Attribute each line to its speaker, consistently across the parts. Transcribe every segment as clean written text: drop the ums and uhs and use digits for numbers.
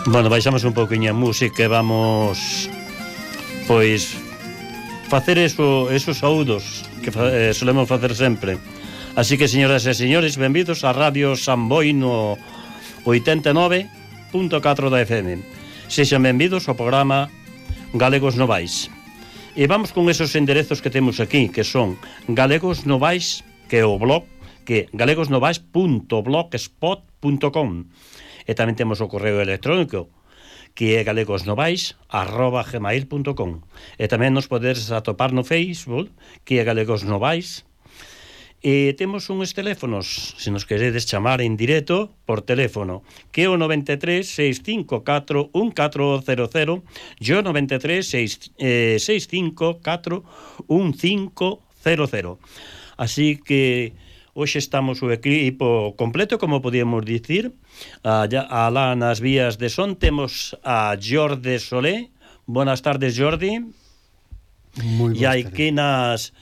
Speaker 1: Bueno, baixamos un pouquiño a música e vamos, pois, facer esos saúdos que solemos facer sempre. Así que, señoras e señores, benvidos a Radio Samboy no 89.4 da FM. Sexan benvidos ao programa Galegos Novais. E vamos con esos enderezos que temos aquí, que son Galegos Novais, que é o blog, que é galegosnovais.blogspot.com. E tamén temos o correo electrónico, que é galegosnovais@gmail.com. E tamén nos podedes atopar no Facebook, que é Galegos Novais. E temos uns teléfonos, se nos queredes chamar en directo por teléfono, que é o 93 654 1400 e o 93 654 1500. Así que hoxe estamos o equipo completo, como podíamos dicir. Alá nas vías de son temos a Jordi Solé. Buenas tardes, Jordi.
Speaker 2: Moi
Speaker 1: e aquí nas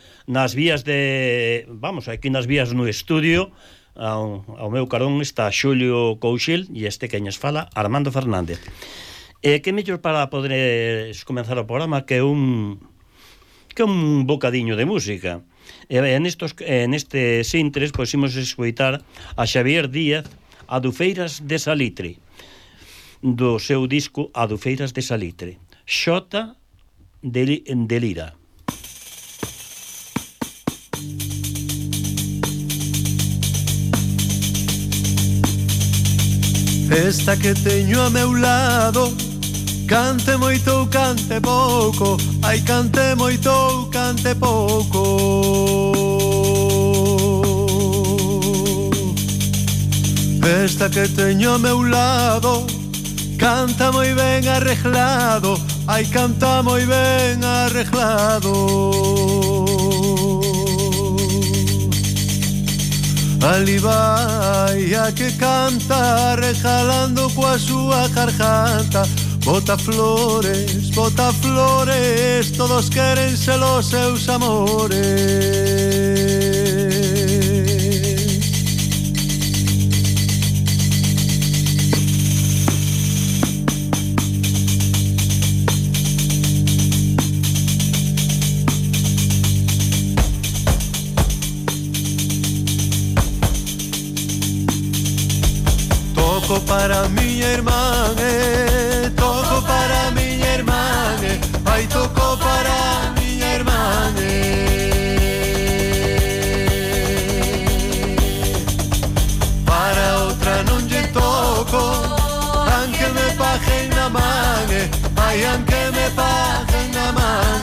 Speaker 1: vías de... Vamos, aquí nas vías no estudio, ao meu carón está Xulio Couchil e este que nos fala, Armando Fernández. Que mellor para poder comenzar o programa que un bocadiño de música. En estes intres, pois, imos escoitar a Xavier Díaz, Adufeiras de Salitre, do seu disco Adufeiras de Salitre. Xota de Lira.
Speaker 2: Esta que teño a meu lado, cante moito ou cante pouco, ai cante moito ou cante pouco. Esta que teño a meu lado, canta moi ben arreglado, ai canta moi ben arreglado. Ali vai a que canta, rejalando coa súa garganta. Bota flores, todos queren ser os seus amores. Toco para miña irmán, toco para miña irmán, ai toco para miña irmán. Para outra non lle toco, aunque me paguen na man, ai aunque me paguen na man.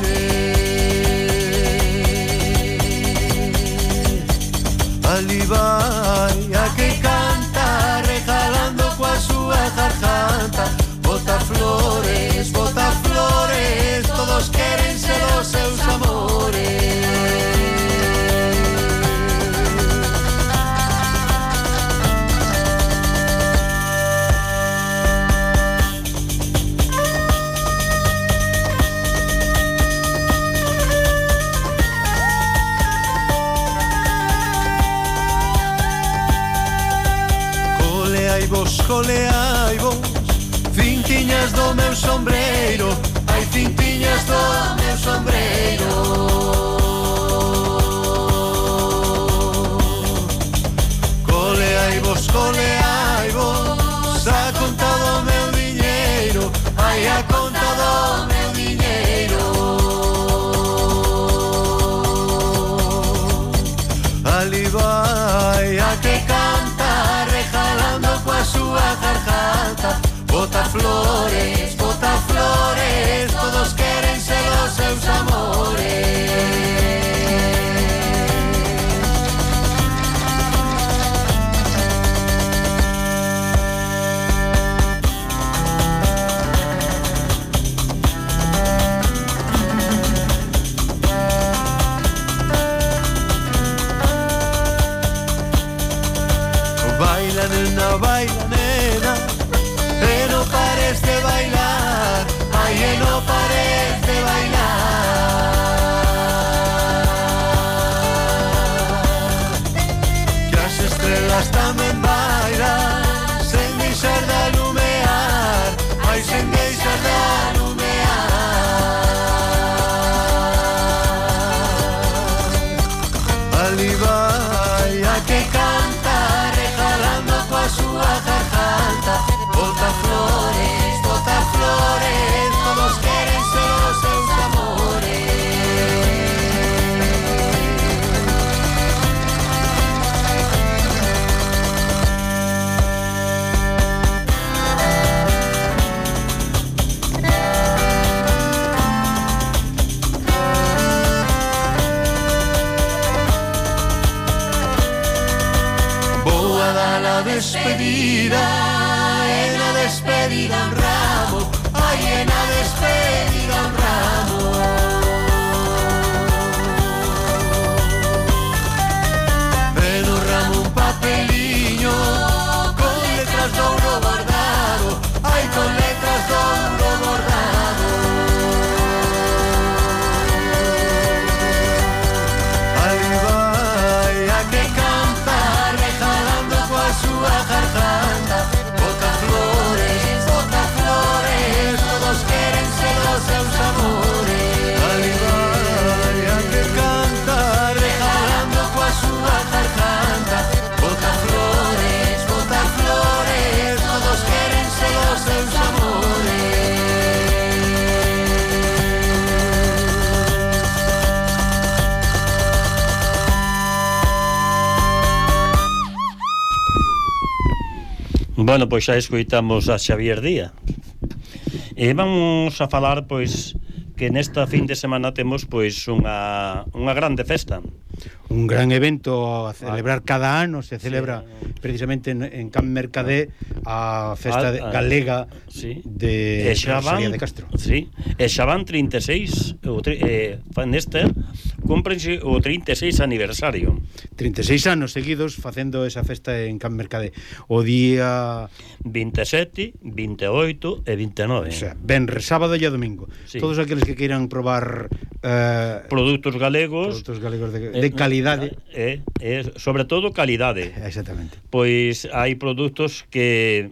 Speaker 2: Ali vai a que canta, regalando coa súa garganta. Bota flores, todos queren ser os seus amores. Coleai vos, cintiñas do meu sombreiro, ai cintiñas do meu sombreiro. Coleai vos, a conta do meu diñeiro, ai a conta do meu diñeiro. Ali vai a que canta, rejalando coa súa garganta. Bota flores, todos queren ser os seus amores. Baila nena, e no pares de bailar, ai e no pares de bailar. Que as estrelas tamén bailan, sen deixar de alumear, da la despedida, en la despedida un ramo, ay, en la despedida un ramo. En un ramo un papeliño, con letras de oro bordado, ay, con letras de oro bordado. Ay, vaya que canta, rejalando coa súa garganta, bota flores, todos queren ser os seus amores. Ay, vaya que canta, rejalando coa súa garganta, bota flores, todos queren ser os seus amores.
Speaker 1: Bueno, pois xa escoitamos a Xavier Díaz. E vamos a falar, pois, que nesta fin de semana temos, pois, unha grande festa.
Speaker 3: Un gran evento a celebrar cada ano, se celebra precisamente en Can Mercadé a festa galega de Rosalía de Castro.
Speaker 1: Sí, e xa van 36, nesta cúmprense o 36 aniversario.
Speaker 3: 36 anos seguidos facendo esa festa en Can Mercadé. O día
Speaker 1: 27, 28 e 29.
Speaker 3: O sea, venres, sábado e domingo. Sí. Todos aqueles que queiran probar
Speaker 1: produtos galegos
Speaker 3: de calidade,
Speaker 1: sobre todo calidade.
Speaker 3: Exactamente.
Speaker 1: Pois hai produtos que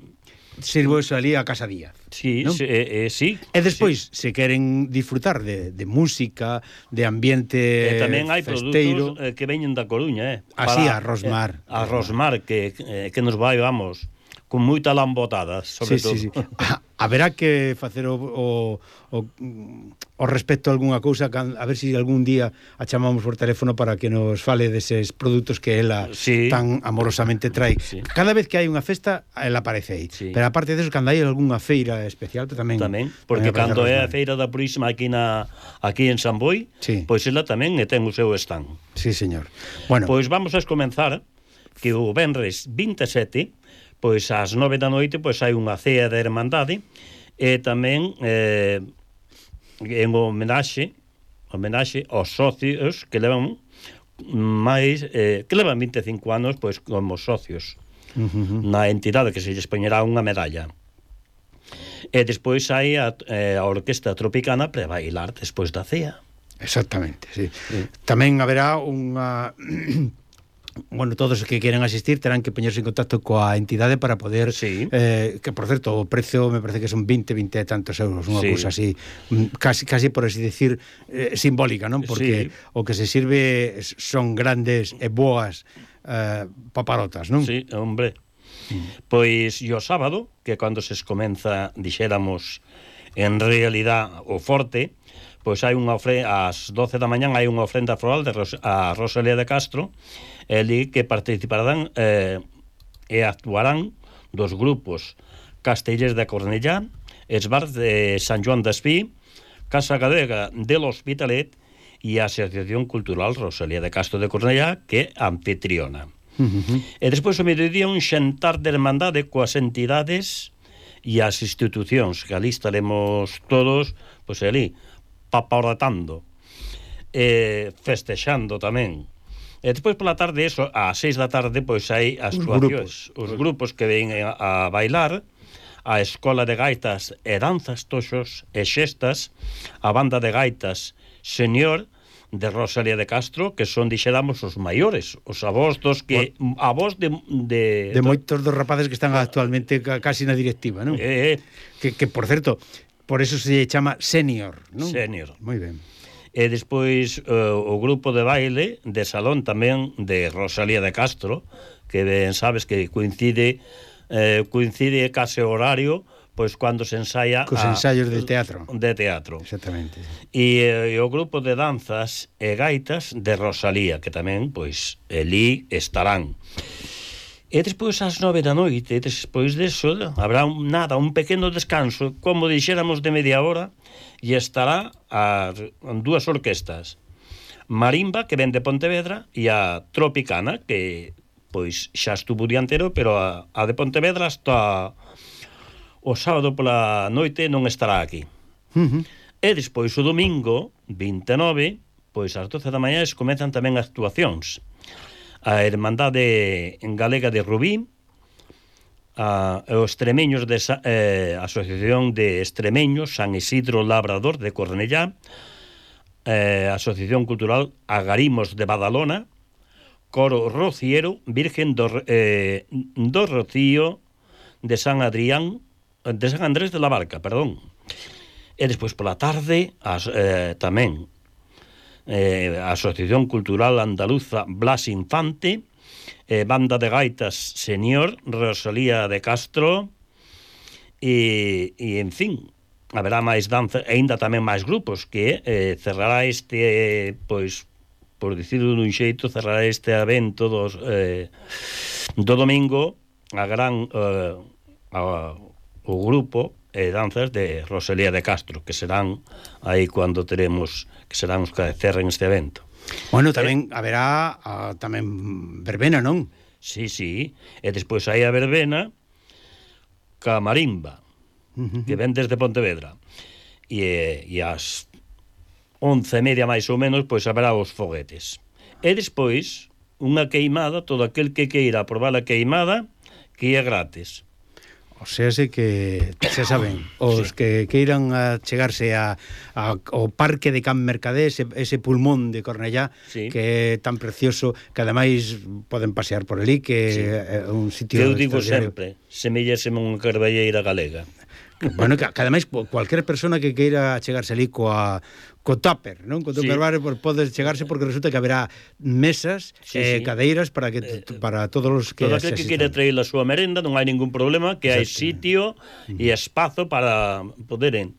Speaker 3: sirvo eso ali a Casa Díaz.
Speaker 1: Sí, ¿no? Sí.
Speaker 3: E despois, se queren disfrutar de música, de ambiente
Speaker 1: tamén hai
Speaker 3: festeiro,
Speaker 1: produtos que veñen da Coruña,
Speaker 3: así a Rosmar.
Speaker 1: A Rosmar, que nos vai, vamos, con moita lambotada, sobre todo.
Speaker 3: Sí. Haberá que facer o respecto a algunha cousa, a ver se algún día a chamamos por teléfono para que nos fale deses produtos que ela tan amorosamente trae. Sí. Cada vez que hai unha festa, ela aparece aí. Sí. Pero aparte deso, cando hai algunha feira especial, tamén,
Speaker 1: porque cando é a feira da Purísima aquí en San Boi, pois ela tamén ten o seu stand.
Speaker 3: Sí, señor. Bueno,
Speaker 1: pois vamos a comenzar que o venres 27, pois ás 9 da noite, pois hai unha cea de hermandade, e tamén en homenaxe aos socios que levan que levan 25 anos pois como socios na entidade, que se lles poñerá unha medalla. E despois hai a orquesta tropicana para bailar despois da cea.
Speaker 3: Exactamente, sí. Tamén haberá unha bueno, todos os que queren asistir terán que poñerse en contacto coa entidade para poder que, por certo, o precio me parece que son 20 e tantos euros, unha cousa así, casi por así decir, simbólica, non? Porque o que se sirve son grandes e boas paparotas, non?
Speaker 1: Sí, hombre. Pois o sábado, que cando se comeza, dixéramos, en realidad o forte, pois hai unha ás 12 da mañán hai unha ofrenda floral a Rosalía de Castro, ali que participarán e actuarán dos grupos Castellers de Cornellá, Esbars de Sant Joan d'Espí, Casa Galega de l'Hospitalet e a Asociación Cultural Rosalía de Castro de Cornellá, que é anfitriona. E despois o mediodía un xantar de hermandade coas entidades e as institucións, que ali estaremos todos, pois ali, paparatando, festexando tamén. E despois pola tarde, ás 6 da tarde, pois hai as actuacións, os grupos que ven a bailar, a Escola de Gaitas e Danzas, Toxos e Xestas, a Banda de Gaitas Señor de Rosalía de Castro, que son, dixéramos, os maiores, os avós dos que avós de
Speaker 3: moitos dos rapaces que están actualmente casi na directiva, non? Que por certo, por eso se chama senior, non?
Speaker 1: Senior.
Speaker 3: Moi ben.
Speaker 1: E despois o grupo de baile de salón tamén de Rosalía de Castro, que ben sabes que coincide case horario, pois cando se ensaia
Speaker 3: cos ensaios de teatro.
Speaker 1: Exactamente. E o grupo de danzas e gaitas de Rosalía, que tamén, pois, elí estarán. E despois ás 9 da noite, despois deso, habrá un pequeno descanso, como dixéramos de media hora, e estará as dúas orquestas, Marimba, que ven de Pontevedra, e a Tropicana, que pois xa estuvo o día inteiro, pero a de Pontevedra hasta o sábado pola noite non estará aquí. E despois o domingo 29, pois ás 12 da mañá comezan tamén actuacións. A Hermandade Galega de Rubí, os extremeños de Asociación de Extremeños San Isidro Labrador de Cornellá, Asociación Cultural Agarimos de Badalona, Coro Rociero Virgen do Rocío de San Adrián, de San Andrés de la Barca, perdón. E despois pola tarde tamén a Asociación Cultural Andaluza Blas Infante, Banda de Gaitas Señor Rosalía de Castro, e en fin, haberá máis danza, e ainda tamén máis grupos, que cerrará pois, por dicirlo dun xeito, cerrará este evento do domingo o grupo danzas de Rosalía de Castro, que serán aí cando teremos, que serán os que cerren este evento.
Speaker 3: Bueno, tamén haberá tamén verbena, non?
Speaker 1: Sí, e despois hai a verbena ca marimba, que ven desde Pontevedra, e ás 11:30 máis ou menos, pois haberá os foguetes. E despois unha queimada, todo aquel que queira probar a queimada, que é gratis.
Speaker 3: O sea, que xa saben, os que queiran chegarse ao parque de Can Mercadé, ese pulmón de Cornellá, que é tan precioso, que ademais poden pasear por ali, que é un sitio...
Speaker 1: Eu digo sempre, semelláseme unha carballeira galega.
Speaker 3: Bueno, que ademais cualquier persona que queira chegarse ali co tupper, non? Co tupper bar, pode chegarse, porque resulta que haberá mesas e cadeiras para todos os que
Speaker 1: todo aquel que queira traer a súa merenda, non hai ningún problema, que hai sitio e espazo para poderen.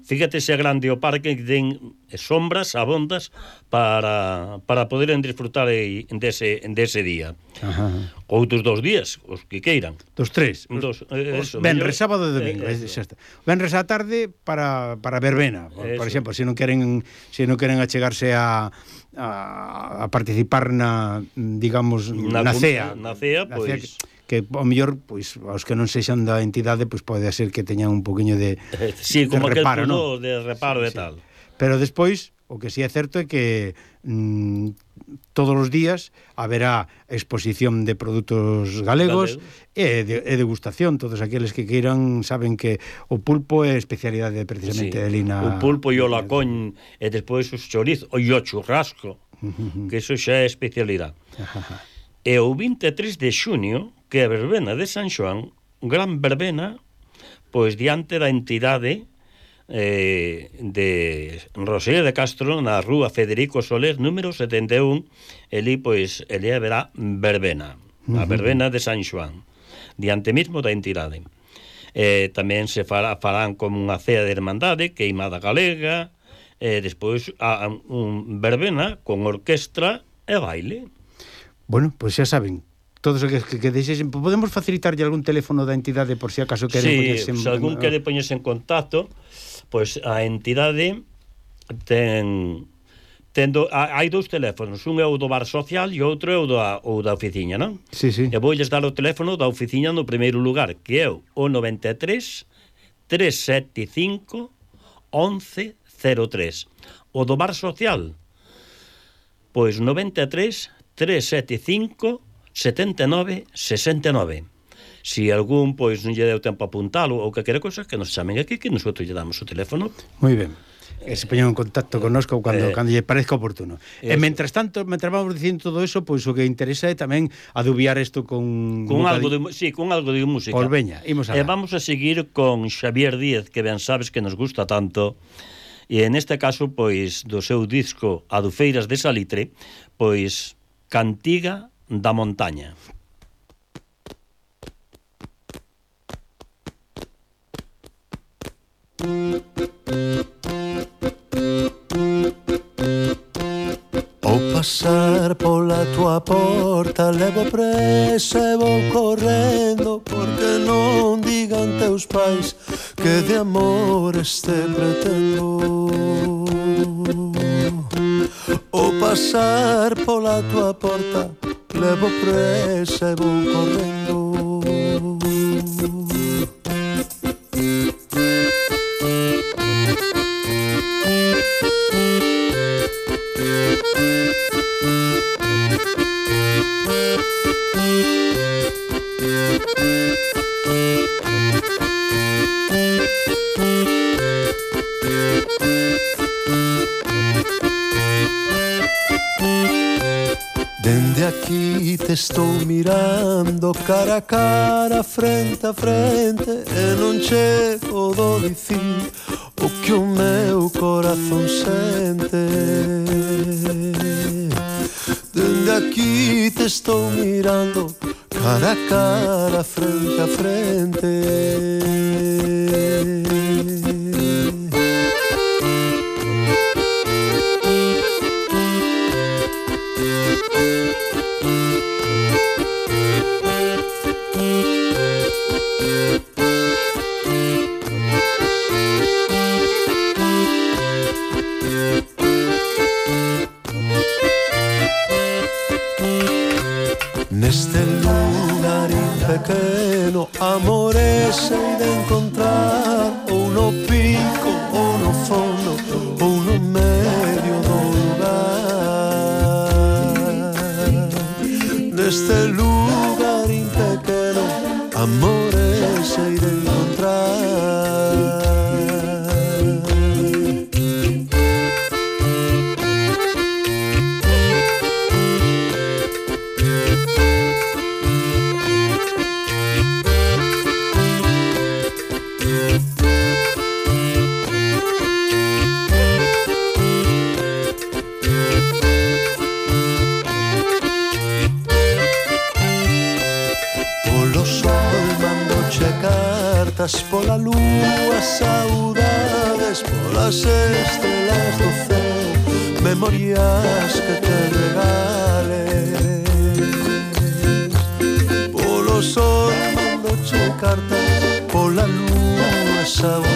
Speaker 1: Fíjate se grande o parque, que ten sombras abondas para poder disfrutar dese día. Outros 2 días, os que queiran.
Speaker 3: Dos 3. Venres, sábado e domingo. Venres á tarde para verbena, por exemplo, se non queren achegarse a participar digamos, na cea.
Speaker 1: Na cea, pois...
Speaker 3: que ao mellor, pois, aos que non sexan da entidade, pois pode ser que teñan un poquinho de
Speaker 1: como
Speaker 3: de reparo,
Speaker 1: ¿no? De reparo e tal.
Speaker 3: Pero despois, o que sí é certo é que todos os días haberá exposición de produtos galegos e degustación. Todos aqueles que queiran saben que o pulpo é especialidade precisamente de Lina.
Speaker 1: O pulpo e o lacón, e despois os chorizos, e o churrasco, que iso xa é especialidade. E o 23 de xuño, que é a verbena de San Xoán, gran verbena, pois diante da entidade de Rosalía de Castro, na rúa Federico Soler, número 71, eli haberá verbena, a verbena de San Xoán, diante mismo da entidade. Tamén se farán como unha cea de hermandade, queimada galega, despois un verbena con orquestra e baile.
Speaker 3: Bueno, pois xa saben, todos os que deixesen, podemos facilitarlle algún teléfono da entidade por si acaso queren poñerse en...
Speaker 1: se algún quere poñerse en contacto, pois a entidade hai 2 teléfonos, un é o do bar social e outro é o da oficina, non?
Speaker 3: Sí.
Speaker 1: E voulles dar o teléfono da oficina no primeiro lugar, que é o 93 375 1103. O do bar social, pois 93 375 79 69. Si algún, pois, non lle deu tempo a apuntalo ou que quere cosas, que nos chamen aquí, que nosotros lle damos o teléfono.
Speaker 3: Moi ben. Que se poñan en contacto connosco cando lle parezca oportuno. E mentras tanto, mentras vamos dicindo todo eso, pois o que interesa é tamén adubiar isto con
Speaker 1: algo de música.
Speaker 3: Pois veña, imos a
Speaker 1: vamos a seguir con Xavier Díaz, que ben sabes que nos gusta tanto. E en este caso, pois, do seu disco Adufeiras de Salitre, pois Cantiga da Montaña.
Speaker 2: Ao pasar pola tua porta levo presa e vou correndo, porque non digan teus pais que de amores te pretendo. Ao pasar pola tua porta levo presa e vou correndo. Dende aquí te estou mirando cara a cara, frente a frente, e non che podo dicir o que o meu corazón sente. Dende aquí te estou mirando cara a cara, frente a frente. Neste lugarín pequeno, amores sei de encontrar, ou no pico, ou no fondo, ou no medio do lugar. Neste lugarín pequeno, amores sei de encontrar. Pola lúa, saudades polas estrelas do céu, memorias que te regales. Polo sol mando che cartas, pola lúa, saudades